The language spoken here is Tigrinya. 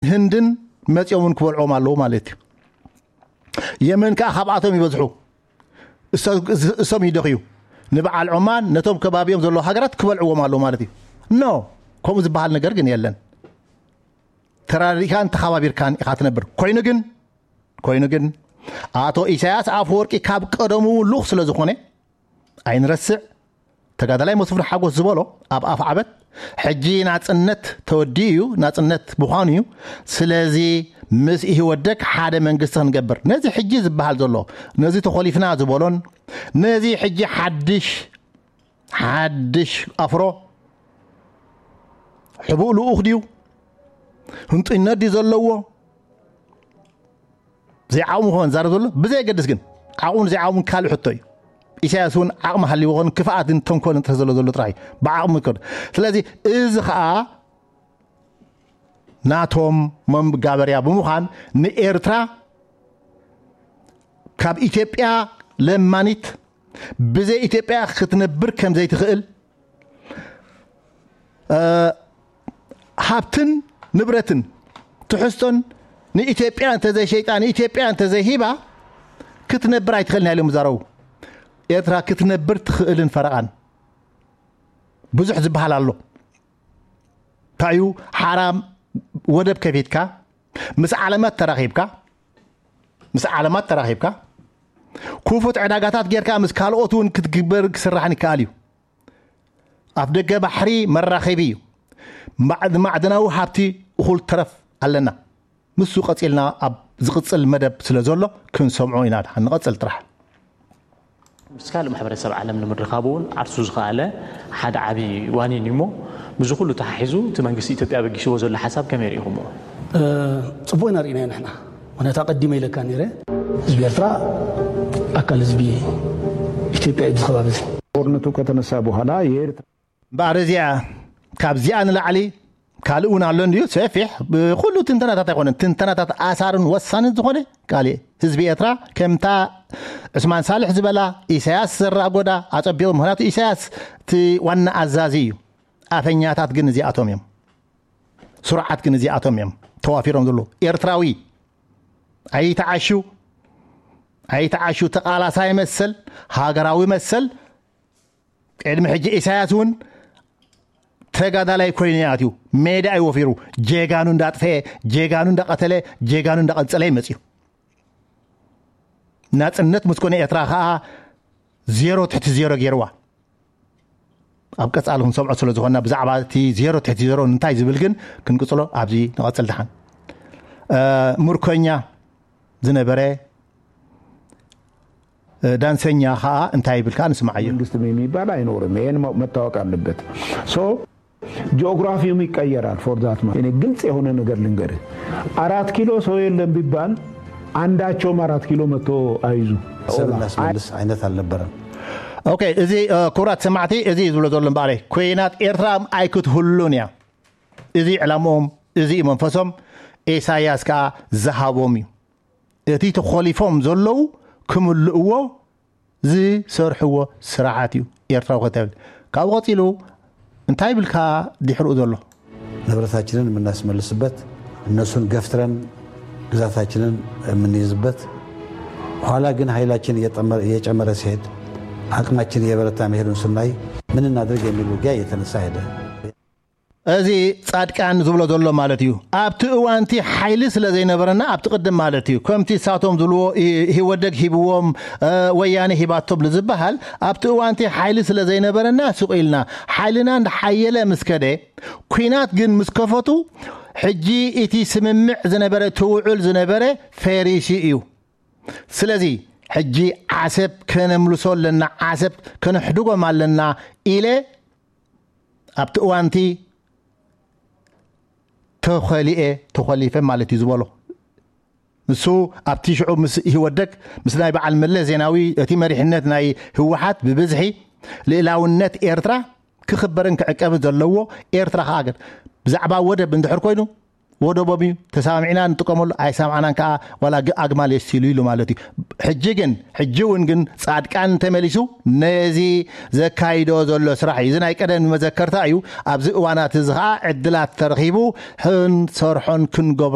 ህንድን መፂኦም እውን ክበልዕዎም ኣለዉ ማለት እዩ። የመን ከዓ ካብኣቶም ይበዝሑ። እሶም ይደኽዩ። ንበዓል ዖማን ነቶም ከባቢኦም ዘለዉ ሃገራት ክበልዕዎም ኣለዉ ማለት እዩ። ኖ፣ ከምኡ ዝበሃል ነገር ግን የለን። ተራዲእካን ተኸባቢርካን ኢኻ ትነብር። ኮይኑ ግን ኮይኑ ግን ኣቶ ኢሳያስ ኣፈወርቂ ካብ ቀደሙ እውን ልኡኽ ስለ ዝኾነ ኣይንረስዕ። ተጋዳላይ መስፍን ሓጎስ ዝበሎ ኣብ ኣፍ ዓበት ሕጂ ናጽነት ተወዲኡ እዩ፣ ናጽነት ምዃኑ እዩ። ስለዚ ምስ ኢህወደግ ሓደ መንግስቲ ክንገብር ነዚ ሕጂ ዝበሃል ዘሎ ነዚ ተኾሊፍና ዝበሎን ነዚ ሕጂ ሓድሽ ሓድሽ ኣፍሮ ሕቡእ ልኡኽ ድዩ? ህንጡይነት ድዩ ዘለዎ? ዘይዓቕሙ ክኾን ዛረብ ዘሎ ብዘየገድስ ግን ዓቕሙን ዘይዓቕሙን ካልእ ሕቶ እዩ። ኢሳያስ እውን ዓቕሚ ሃልይዎ ኾን ክፍኣትን ተንኮልን እንተ ዘሎ ዘሎ ጥራሕ እዩ። ብዓቕሚ ክር ስለዚ እዚ ኸዓ ናቶም መጋበርያ ብምዃን ንኤርትራ ካብ ኢትዮጵያ ለማኒት ብዘይ ኢትዮጵያ ክትነብር ከም ዘይትኽእል ሃብትን ንብረትን ትሕዝቶን ንኢትዮጵያ እንተዘይሸይጣ ንኢትዮጵያ እንተዘይሂባ ክትነብር ኣይትኽእልን ኢሎም ይዛረቡ። ኤርትራ ክትነብር ትኽእልን ፈረቓን ብዙሕ ዝበሃል ኣሎ። እንታይ እዩ ሓራም ወደብ ከፊትካ ምስ ዓለማት ተራኺብካ ምስ ዓለማት ተራኺብካ ክፉት ዕዳጋታት ጌርካ ምስ ካልኦት እውን ክትግበር ክስራሕን ይከኣል እዩ። ኣፍ ደገ ባሕሪ መራኸቢ እዩ። ማዕድናዊ ሃብቲ እኹል ተረፍ ኣለና። ምስ ቀጺልና ኣብ ዝቕጽል መደብ ስለ ዘሎ ክንሰምዖ ኢና። ድሓን ንቐጽል ጥራሕ። ምስ ካልእ ማሕበረሰብ ዓለም ንምርኻቡ እውን ዓርሱ ዝኸኣለ ሓደ ዓብዪ ዋኒን እዩ እሞ ምስዚ ኩሉ ተሓሒዙ እቲ መንግስቲ ኢትዮጵያ በጊስዎ ዘሎ ሓሳብ ከመይ ርኢኹሞ? ጽቡቕ ኢና ርኢናዮ ንሕና። ምክንያቱ ኣቐዲመ ኢለካ ነይረ። ህዝቢ ኤርትራ ኣካል ህዝቢ ኢትዮጵያ እዩ። እዚ ከባቢ እዚ ጦርነቱ ከተነሳ በኋላ የኤርትራ እምበኣር እዚኣ ካብዚኣ ንላዕሊ ካልእ እውን ኣሎ እንድዩ ሰፊሕ ብኩሉ ትንተናታት ኣይኮነን ትንተናታት ኣሳርን ወሳንን ዝኾነ ካልእ ህዝቢ ኤርትራ ከምታ ዑስማን ሳልሕ ዝበላ ኢሳያስ ዘራጎዳ ኣጸቢቑ ምክንያቱ ኢሳያስ እቲ ዋና ኣዛዚ እዩ። ኣፈኛታት ግን እዚኣቶም እዮም። ስሩዓት ግን እዚኣቶም እዮም ተዋፊሮም ዘለዉ። ኤርትራዊ ኣይተዓሹ ኣይተዓሹ ተቓላሳይ መሰል ሃገራዊ መሰል ቅድሚ ሕጂ ኢሳያስ እውን ተጋዳላይ ኮይኑ ኣትዩ ሜዳ እዩ ወፊሩ ጀጋኑ እንዳጥፈኤ ጀጋኑ እንዳቐተለ ጀጋኑ እንዳቐንጸለ ይመጽዩ። ናጽነት ምስ ኮነ ኤርትራ ከኣ ዜሮ ትሕቲ ዜሮ ገይርዋ። ኣብ ቀጻሊ ክንሰምዖ ስለ ዝኾንና ብዛዕባ እቲ ዜሮ ትሕቲ ዜሮ እንታይ ዝብል ግን ክንቅጽሎ ኣብዚ ንቐጽል ድሓን። ምርኮኛ ዝነበረ ዳንሰኛ ከዓ እንታይ ይብል ከዓ ንስማዓዮ። መንግስት የሚባል አይኖርም። ይሄን መታወቅ አለበት። so geography ም ይቀየራል። for that እኔ ግልጽ የሆነ ነገር ልንገርህ። አራት ኪሎ ሰው የለም ቢባል አንዳቸውም አራት ኪሎ መጥቶ አይዙ ሰብ እናስመልስ አይነት አልነበረም። ኦኬ እዚ ክቡራት ሰማዕቲ እዚ እዩ ዝብሎ ዘሎ እምበኣለይ ኩናት ኤርትራ ኣይክትህሉን እያ። እዚ ዕላምኦም እዚ እዩ መንፈሶም። ኢሳያስ ከዓ ዝሃቦም እዩ። እቲ ተኾሊፎም ዘለዉ ክምልእዎ ዝሰርሕዎ ስራሓት እዩ ኤርትራዊ ከተብል። ካብኡ ቀፂሉ እንታይ ይብልካ ድሕርኡ ዘሎ? ንብረታችንን የምናስመልስበት፣ እነሱን ገፍትረን ግዛታችንን የምንይዝበት፣ ኋላ ግን ኃይላችን እየጨመረ ሲሄድ፣ አቅማችን እየበረታ መሄዱን ስናይ ምን እናድርግ የሚል ውጊያ እየተነሳ ሄደ። እዚ ጻድቃን ዝብሎ ዘሎ ማለት እዩ። ኣብቲ እዋንቲ ሓይሊ ስለ ዘይነበረና ኣብቲ ቅድም ማለት እዩ ከምቲ እሳቶም ዝብልዎ ኢህወደግ ሂብዎም ወያነ ሂባቶም ንዝበሃል ኣብቲ እዋንቲ ሓይሊ ስለ ዘይነበረና ስቕ ኢልና ሓይልና እንዳሓየለ ምስ ከደ ኲናት ግን ምስ ከፈቱ ሕጂ እቲ ስምምዕ ዝነበረ እቲ ውዑል ዝነበረ ፈሪሱ እዩ። ስለዚ ሕጂ ዓሰብ ከነምልሶ ኣለና፣ ዓሰብ ከነሕድጎም ኣለና ኢለ ኣብቲ እዋንቲ ተኸሊኤ ተኸሊፈ ማለት እዩ ዝበሎ። ንሱ ኣብቲ ሽዑ ምስ ኢህወደግ ምስ ናይ በዓል መለስ ዜናዊ እቲ መሪሕነት ናይ ህወሓት ብብዝሒ ልእላውነት ኤርትራ ክኽበርን ክዕቀብን ዘለዎ ኤርትራ ከኣ ግን ብዛዕባ ወደብ እንድሕር ኮይኑ ወደቦም እዩ። ተሰማሚዕና ንጥቀመሉ፣ ኣይሰማዕናን ከዓ ዋላ ግ- ኣግማል የስቲሉ ኢሉ ማለት እዩ። ሕጂ ግን ሕጂ እውን ግን ፃድቃን እንተመሊሱ ነዚ ዘካይዶ ዘሎ ስራሕ እዩ። እዚ ናይ ቀደም መዘከርታ እዩ። ኣብዚ እዋናት እዚ ከዓ ዕድላት ተረኺቡ ክንሰርሖን ክንገብሮ